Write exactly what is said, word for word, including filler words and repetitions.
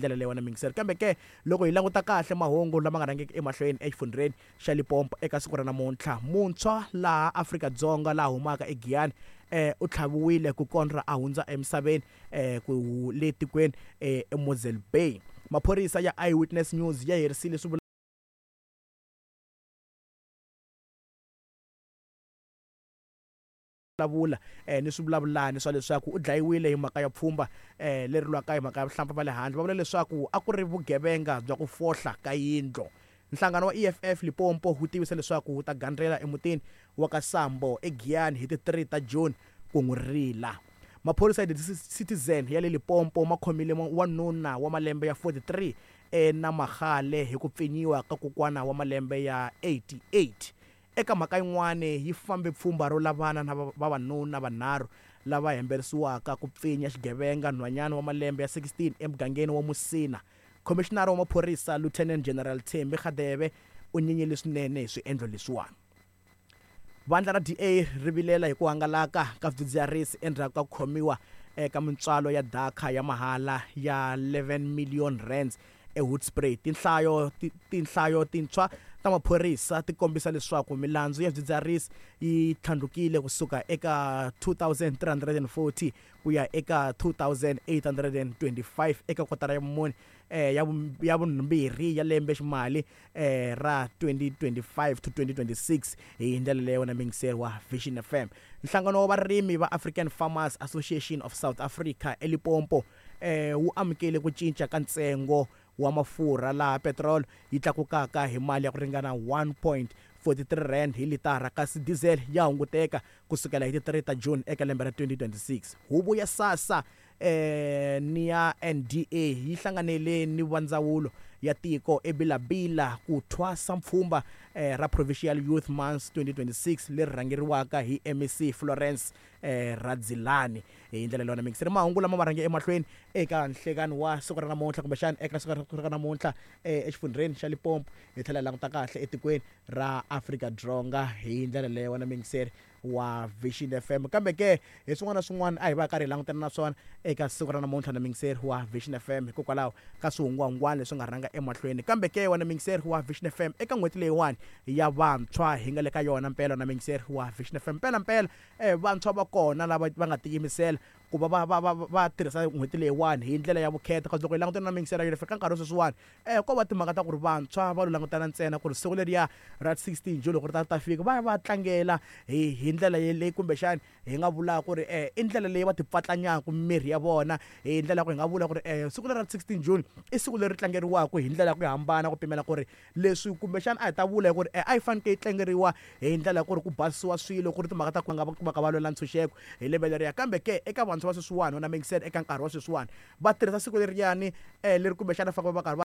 ndlela leyi wena mingiseri. Kambe ke loko hi languta kahle mahungu lama nga rhangiki emahlweni exifundzheni xa Limpopo eka siku ra namuntlha, muntshwa laha Afrika-Dzonga laha humaka eGiyani eh u tlhaviwile ku kondra a hundza emisaveni eh ku le tikweni eh eMosel Bay. Maphorisa ya Eyewitness News ya herisile swi vulavula eh ni swivulavulani swa leswaku u dlayiwile hi mhaka ya pfhumba eh leri lwaka hi mhaka ya vuhlampfa va le handle. Va vula leswaku a ku ri vugevenga bya ku fohla ka yindlu. Nhlangano wa E F F Limpopo wu tivisa leswaku wu ta gandzela emutini wa ka Sambo eGiyani hi ti three ta June ku n'wi rila. Maphorisa ya The Citizen ya le Limpopo ma khomile wanuna wa malembe ya forty-three eNamagale hi ku pfinyiwa ka kokwana wa malembe ya eighty-eight. Eka mhaka yin'wana yi fambe pfhumba ro lavana na vavanuna vanharhu lava hemberisiwaka ku pfinya xigevenga nhwanyana wa malembe ya sixteen emugangeni wa Musina. Khomishinara wa maphorisa Lieutenant General Thembi Radebe u nyenyile swinene hi swiendlo leswiwani. Vandla ra D A ri vilela hi ku hangalaka ka swidzidziharisi endzhaku ka ku khomiwa eka mintswalo ya daka ya mahala ya eleven million rands eHoedspruit. Tinhlayo tinhlayo tintshwa ta maphorisa ti kombisa leswaku milandzu ya swidzidziharisi yi tlhandlukile kusuka eka two thousand three hundred and forty ku ya eka two thousand eight hundred and twenty-five eka kotara ya vumune eh ya ya vumbirhi ya lembe ximali eh ra twenty twenty-five to twenty twenty-six hi ndlela leyo na mingiseri wa Vision F M. Nhlangano wa varimi va African Farmers Association of South Africa eLimpopo eh wu amukele ku cinca ka ntsengo wa mafurha laha petrol yi tlakukaka hi mali ya ku ringana one point four three rand hi litara, kasi diesel ya hunguteka kusukela hi ti three ta June eka lembe ra twenty twenty-six. Huvo ya SASSA eh ni ya N D A yi hlanganele ni va ndzawulo ya tiko eBilabila ku thwasa mpfhumba eh, ra Provincial Youth Month twenty twenty-six leri rhangeriwaka hi M E C Florence eh, Radzilani. Hi ndlela leyo na mingiseri mahungu lama ma rhange emahlweni eka nhlekani wa siku ra namuntlha kumbexana eka siku ra namuntlha eh, exifundzheni xa Limpopo, hi tlhela hi languta kahle etikweni ra Afrika-Dzonga hi ndlela leyo na mingiseri wa Vision F M. Kambe ke hi swin'wana na swin'wana a hi va karhi hi langutana na swona eka siku ra namuntlha na mingiseri wa Vision F M hikokwalaho ka swihungwahungwana leswi nga rhanga emahlweni. Kambe ke wena mingiseri wa Vision F M eka n'hweti leyiwani ya vantshwa hi nga le ka yona mpela na mingiseri wa Vision F M, mpela mpela eh vantshwa va kona lava va nga tiyimisela ku va va va va va tirhisa n'hweti leyiwani hi ndlela ya vukheta. Kasi loko hi langutana na mingiseri ya ka nkarhi wa sweswiwani eh ko va timhaka ta ku ri vantshwa va lo langutana ntsena ku ri siku leriya ra sixteen June loko ri ta ta fika va ya va tlangela hi hi ndlela leyi kumbexani hi nga vulaka ku ri eh i ndlela leyi va ti pfatlanyaka miri ya vona, hi ndlela ya ku hi nga vula ku ri eh siku leri ra sixteen June i siku leri tlangeriwaka hi ndlela ya ku hambana, ku pimela ku ri leswi kumbexani a hi ta vula ku ri eh a yi fanekele yi tlangeriwa hi ndlela ya ku ri ku basisiwa swilo ku ri timhaka ta ku nga va ka va lwela ntshunxeko hi lembe leriya. Kambe ke eka vantshwa va sweswiwani na mingiseri eka nkarhi wa sweswiwani va tirhisa siku leriyani eh leri kumbexana va fanele va karhi va